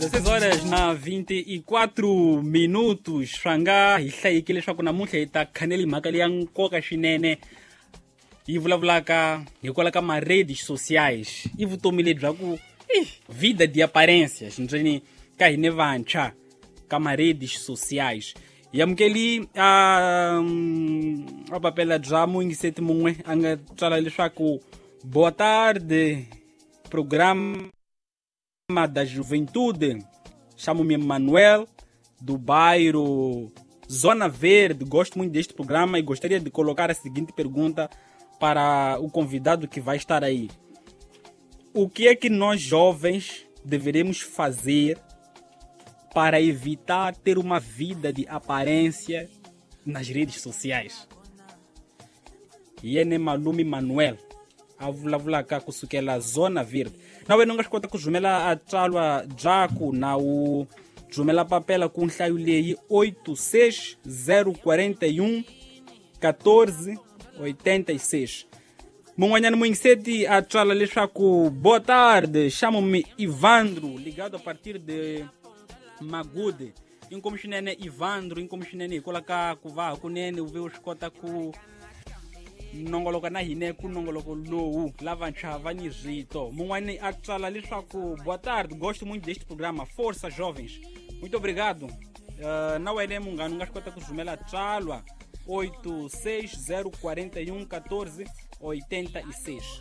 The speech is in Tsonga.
16 horas na 24 minutos. Swa nga hi hlayekile leswaku namuntlha hi ta khaneli mhaka leya nkoka swinene yi vulavulaka hikwalaho ka ma-redes sociais. I vutomi lebyi bya ku vida de aparência xindzeni ka hine vantshwa ka ma-redes sociais. Hi amukeli a papela bya muyingiseti mun'we a nga tsala leswaku boa tarde, programa da Juventude. Chamo-me Manuel, do bairro Zona Verde. Gosto muito deste programa e gostaria de colocar a seguinte pergunta para o convidado que vai estar aí. O que é que nós jovens deveremos fazer para evitar ter uma vida de aparência nas redes sociais? Yene Malume Manuel a vulavulaka kusukela Zona Verde. Na wena u nga swi kota ku rhumela a tsalwa byaku na u rhumela papela ku nhlayo leyi 86041 1486. Mun'wanyana muyingiseti a tswala leswaku boa tarde, chamo-me Ivandro, ligado a partir de Magude. Inkomu swinene Ivandro, inkomu swinene hikwalaho ka ku va hakunene u ve u swi kota ku nongoloka na hina ku nongoloko lowu lavantshwa va ni rito. Mun'wani a tsala leswaku boa tarde, gosto muito deste programa, força jovens. Muito obrigado. Na wena munghana u nga swi kota ku rhumela tsalwa 86041 1486.